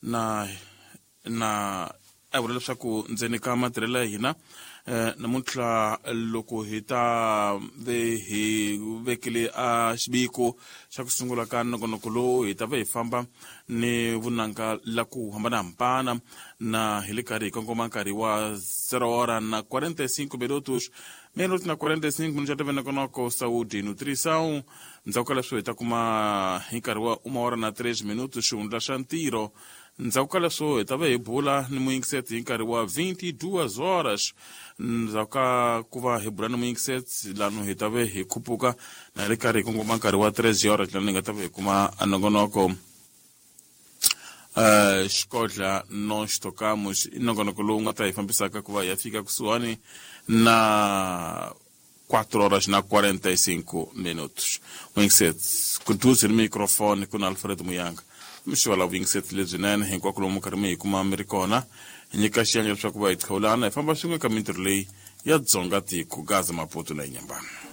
Na na a vula leswaku ndzeni ka matirhelo ya hina namuntlha loko hi ta ve hi vekele a xiviko xa ku sungula ka nongonoko lowu, hi ta va hi famba ni vunanga la ku hambanahambana na hi le karhi hi kongoma nkarhi wa 0 hora na 45 minutos, minutos na 45 minutos ya nongonoko Saúde e Nutrição. Ndzhaku ka leswo hi ta kuma hi nkarhi wa uma hora na 3 minutos xihundla xa ntirho. Ndzhaku ka leswo hi ta va hi bula ni muyingiseti hi nkarhi wa 22 horas. Ndzhaku ka ku va hi bula ni muyingiseti lano, hi ta va hi khupuka na hi ri karhi hi kongoma nkarhi wa 3 horas, lano hi nga ta va hi kuma nongonoko Xikodla Nós Tocamos, i nongonoko lowu nga ta hi fambisaka ku va hi ya fika kusuhani na 4 horas na 45 minutos. Muyingiseti kuduze ni microfone ku na Alfred Muyanga. Mixo la vuyingiseti lebyinene hinkwako lomu karhi mi hi kuma mi ri kona. Hi nyika xiyenge leswaku va hi qhawulana hi famba swin'we ka mintirho leyi ya Dzonga tiko, Gaza, Maputo na Inyambana.